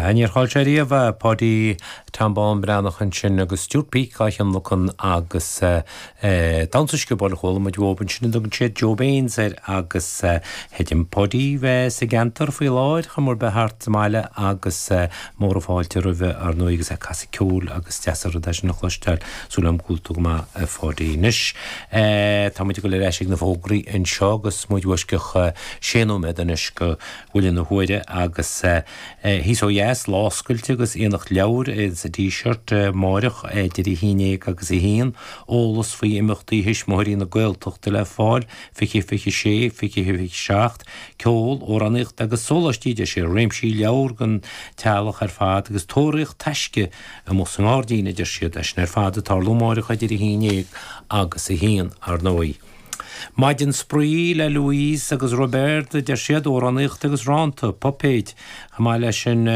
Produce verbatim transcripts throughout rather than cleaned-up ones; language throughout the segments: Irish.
Níor chaill sé riamh Páidí Tom Bán Breathnach ansin agus Stuart Peake á thionlacan agus damhsa sciobóil a chuala muid uaidh ansin a dtugann siad Joe Baines air agus chreidim Páidí bheith sa gceantar faoi láthair chomh bheith thart sa mbaile agus mór an fáilte roimhe ar ndóigh agus é ag casadh ceoil agus deas an rud é sin a chloisteáil súil agam go bhfuil tú go maith a Pháidí. Anois tá muid ag dul ar ais ag na fógraí anseo agus muid i bhfoisceacht sé nóiméad anois go bhfuil na huaire agus thíos ó dheas lá oscailte agus aonach leabhar sa Díseart amárach idir a haon déag agus a haon eolas faoi imeachtaí thuismitheoirí na Gaeltachta le fáil fiche fiche sé fiche fiche seacht ceol amhránaíocht agus sóláistí de sé réimsí leabhar don teaghlach ar fad agus tóraíocht taisce amuigh sa ngairdín a deir siad é sin ar fad ag tarlú amárach idir a haon déag agus a haon ar ndóigh. Maidin spraoi le Louise agus Robert deir siad amhránaíocht agus rannta, puipéid, chomh maith leis sin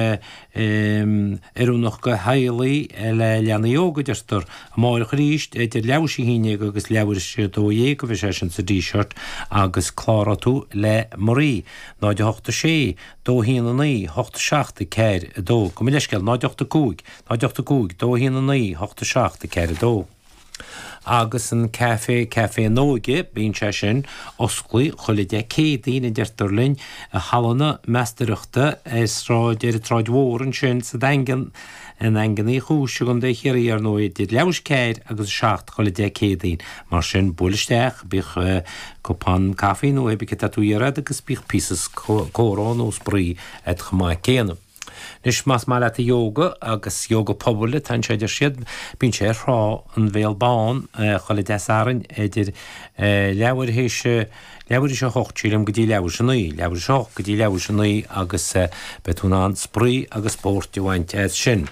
oiriúnach do theaghlaigh le leanaí óga deirtear amárach arís idir leathuair tar éis a haon déag agus leathuair tar éis a dó dhéag a bheidh sé sin sa Díseart agus cláróidh tú le Marie náid a hocht a sé dó haon a naoi hocht seacht a ceathair a dó gabh mo leithscéal náid ocht a cúig náid ocht a cúig dó haon a naoi hocht seacht a ceathair a dó. agus an café café na hÓige bíonn sé sin oscailte chuile Dé Céadaoin a deirtear linn i halla na Meastóireachta ar sráid ar an tSráid Mhór ansin sa Daingean i nDaingean Uí Chúis i gContae Chiarraí ar ndóigh idir leathuair tar éis a ceathair agus a seacht chuile Dé Céadaoin mar sin buail isteach bíodh cupán caife nó pé ar bith atá tú iarraidh agus bíodh píosa comhrá nó spraoi agat chomh maith céanna. Anois más maith leat yoga agus yoga pobail tá sé deir siad bíonn sé ar Thrá an Bhéal Bán chuile Dé Sathairn idir leathuair tar éis leathuair tar éis a hocht sílim go dtí leathuair tar éis a naoi, leathuair tar éis a hocht go dtí leathuair tar éis a naoi agus beidh tú in ann spraoi agus spórt a bhaint as sin.